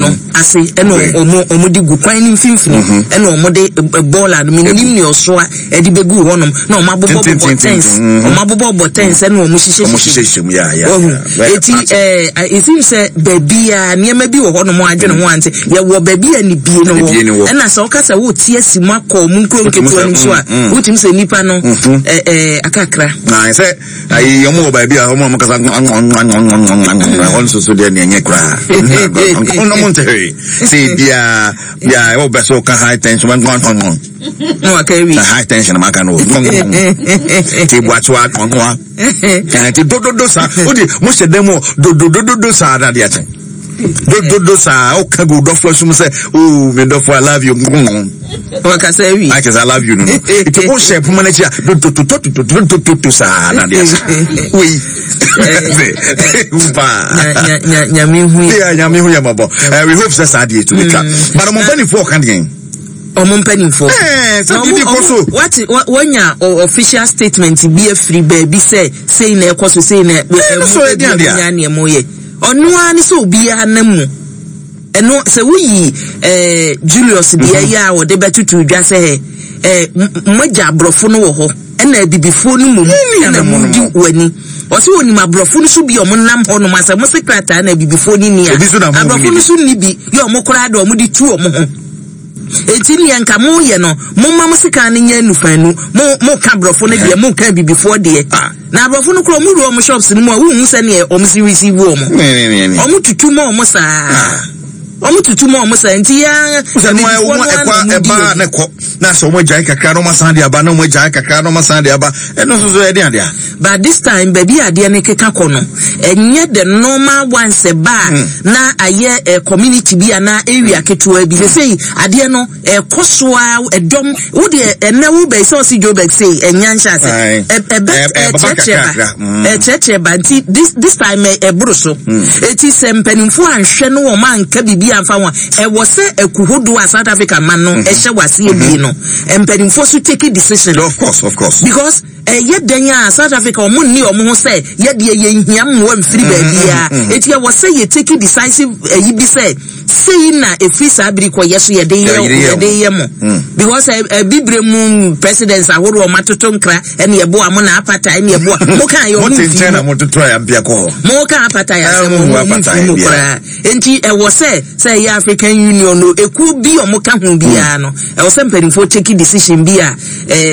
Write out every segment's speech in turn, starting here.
no ase ɛna ɔmo de gu kwan no mfimfini, ɛna ɔmo de bɔɔla no, menim nea ɔsoa ɛde bɛgu hɔnom, na ɔmo abobɔ bobɔ tents, ɔmo abobɔ bɔ tents ɛna ɔmo hyehyɛ hyehyɛ mu. Ɔhu eti it seems sɛ baabi a nneɛma bi wɔ hɔnom adwene ho ante, yɛwɔ baabi a nibie no wɔ, ɛna sɛ ɔka sɛ wote asi mu akɔ ɔmo nkuro nketewa no so a, wotumi sɛ nipa no ɛɛ ɛɛ akakra. Na sɛ ayi ɔmo wɔ baabi a ɔmo a ɔmo kasa hɔ nso so deɛ, nea ɛnyɛ koraa ɔmo ɔmo nte hwee sɛ bia bia ɛwɔ bɛ so ka high tension na waka awie. Na high tension ma ka no ti buakyewa nwa ti dododo saa o de mo hyɛ dɛm o, dodododo saa na adeɛ kyɛn dododo saa o ka gu dɔfo asum sɛ o mi dɔfo, I love you. Wakasa awie. Ayɛ sɛ I love you no nti o hyɛ poma n'akyi a, dododododododo saa na adeɛ kyɛn wei paa. Nyame hu yɛ. Nyame hu yɛ mɔbɔ. We hope sɛ saa adeɛ tu bi twa, but ɔmo mpanyinfoɔ ɔka deɛ ɔmo mpanimfoɔ. Sɛ biribi kɔ so. Wate, wɔnya official statement bi afiri baabi sɛ sei na ɛkɔ so, sei na ɛmu so ɛdi adeɛ a. Ɛmu nneɛma yɛ ɔno ara ne sɛ obiara nam mu ɛno sɛ woyi Julius deɛ yɛ a wɔde bɛtutu dwa sɛ mogya aborɔfo no wɔ hɔ, ɛna abibifoɔ no mom ɛna mu di w'ani. Ɔsɛ onim aborɔfo no so bi a ɔmo nam hɔ nom asɛ mo se krataa na abibifoɔ no ni a, Ebi so na mo aborɔfo no so ni bi yɛ ɔmo koraa de ɔmo de tu ɔmo ho. Eti nea nka mo yɛ no, mo ma mo sika no nyɛ nufanu. Mo ka aborɔfo no deɛ, mo ka abibifoɔ deɛ. Na aborɔfo no koraa, ɔmo wura ɔmo shops no mu a, wohu sɛ neɛ ɔmo si receive ɔmo. Ɔmo tutu ma ɔmo saa. Ɔmo tutu ma ɔmo saa nti ya. Sɛ no ayɛ wɔn ɛkɔ ɛba na ɛkɔ na sɛ wɔn agyae kakra na wɔn asan de aba, na wɔn agyae kakra na wɔn asan de aba, ɛno nso so ɛde adeɛ. But this time baabi a adeɛ no keka kɔ no, ɛnyɛ the normal one sɛ ba a na ayɛ community bi anaa area ketewa bi. Sɛsɛyi adeɛ no ɛkɔ so a, ɛdɔm wo deɛ ɛnɛ wo bɛyi sɛ ɔsi Joburg sei ɛnya nhyɛ ase ɛbɛ ɛkyerɛkyerɛ ba, ɛkyerɛkyerɛ ba. Nti this time ɛboro so. Eti sɛ mpanimfoɔ anhwɛ no, wɔn anka biribi anfa ho a, ɛwɔ sɛ ɛku hodoɔ a South Africa man no ɛhyɛ wɔ aseɛ bie no, mpanimfoɔ so take decision. Of course. Because ɛyɛ dɛn a, South Africa ɔmo nni ɔmo ho sɛ yɛdeɛ yɛnhia mmoa mfiri baabiara. Eti ɛwɔ sɛ yɛ take decisive ɛyi bi sɛ sei na efiri saa biri kɔ yɛ so yɛde yɛ yɛde yɛ mo, because ɛbibire mu presidents ahorow ɔmo atoto nkra ɛne ɛboa mo na apartheid ɛne ɛboa mo kan yɛ ɔmo nfi mu. Mo kan apartheid asɛm, ɔmo nfi mu koraa. Nti ɛwɔ sɛ ɛyɛ African Union no ekuo bi ɔmo ka ho biara no, ɛwɔ sɛ mpanimfoɔ take decision bi a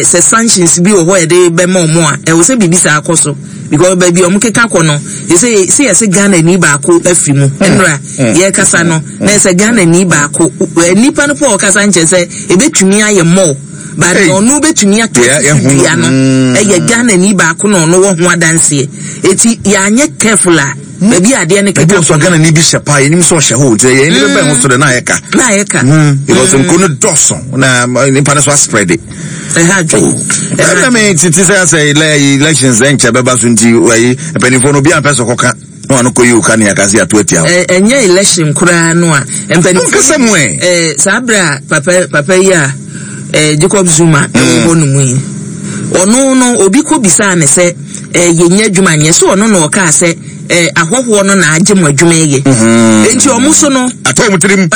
sɛ sanctions bi wɔ hɔ yɛde bɛma ɔmo a, ɛwɔ sɛ biribi saa akɔ so, because baabi a ɔmo keka kɔ no yɛsɛ sɛ yɛsɛ Ghana ni baako afiri mu. Nnura yɛkasa no na yɛsɛ Ghana ni baako, nipa no po a ɔkasa nkyɛn sɛ ebetumi ayɛ mɔɔ, but ɔno betumi aka sisi dua no ɛyɛ Ghana ni baako na ɔno wɔ ho adanseɛ. Eti yɛanyɛ careful a, baabi a adeɛ no keka kɔ no, Ghana ni bi hyɛ paa, yɛnim sɛ ɔhyɛ hɔ, nti yɛn ni bɛbɛn ho so de na ayɛ ka. Na ayɛ ka. Because nkuro no dɔɔso na nipa no so aspread. Ɛha adwe. Ɛna mi titi sɛ asɛ elections ɛnkyɛ bɛba so, nti ɛyi mpanimfoɔ no obi a mpɛ sɛ ɔkɔka na wɔn akɔ yi oka ne akase ato atia hɔ. Ɛnyɛ election koraa no a mpanimfoɔ. Nkasa mu ɛ. Saa abere a papa yi a Jacob Zuma ɛwɔ hɔ nom yi, ɔno no obi kɔ bisaa ne sɛ yɛnyɛ adwuma nyɛ so, ɔno na ɔkaa sɛ ahɔhoɔ no na agye mo adwuma yɛ, nti ɔmo so no atɔ ɔmo tirim.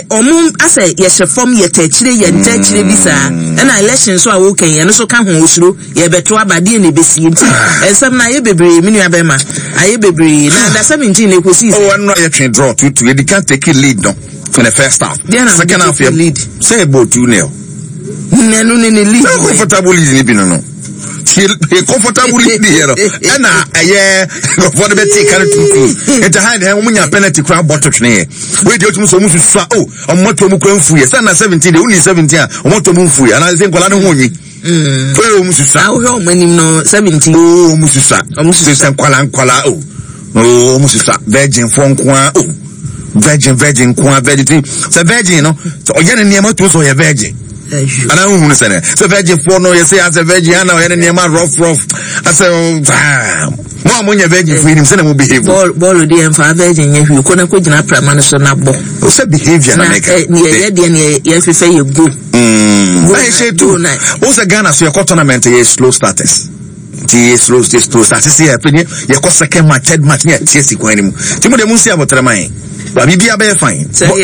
Ɔmo asɛ yɛhyɛ fam, yɛtɛ akyire, yɛntɛ akyire bi saa. Ɛna election so a wɔkɛn ɛno so ka ho, osuro yɛbɛto aba deɛ na ebesie. Nti nsɛm no ayɛ bebree, me nua bɛrima, ayɛ bebree. Na under 17 na ekosi sɛ. Ɔwɔ no yɛtwe draw 2-2. Yɛdi kan take lead no in the first half. Second half yɛ lead. Sɛ ɛbɔ 2-0. Nanu ne lead. Sɛ comfortable lead ni bi no yɛ comfortable lead yɛ no, ɛna ɛyɛ nkurɔfoɔ no bɛ te ka no 2-2. Nti ha deɛ wɔn nya penalty kora bɔ to twene yɛ wei deɛ otum sɛ wɔn susu a o wɔn ato wɔn kura nfu yɛ sɛ na 17 deɛ wonni 17 a wɔn ato wɔn nfu yɛ anaasɛ nkwadaa no ho onwi o wɔn susu a. Ahohwɛ wɔn anim no 17. O wɔn susu a, wɔn susu sɛ nkwadaa nkwadaa o wɔn susu a, virgin foɔ nkoa o, virgin virgin nkoa, virgin ti sɛ virgin no sɛ ɔyɛ ne nneɛma to sɛ ɔyɛ virgin anaa ohun sɛ ne sɛ virgin foɔ no yɛsɛ asɛ virgin ana ɔyɛ ne nneɛma rough rough asɛ saa. Mo a mo nyɛ virgin foɔ yi nim sɛ na mo behave. Bɔɔl bɔɔl deɛ nfa virgin nyɛ hwee, kɔ na kɔ gyina prama no so na bɔ. O sɛ behaviour na mɛka. Na ɛ yɛ deɛ ne yɛ fefɛ yɛ go. Na yɛ hyɛ tu o sɛ Ghana so yɛkɔ tournament, yɛ slow starters, nti yɛ slow yɛ slow start sisi yɛ pɛ yɛkɔ second match, third match ne yɛ tie si kwan ne mu, nti mo deɛ mo nsi abotire man ba biribi abɛyɛ fine.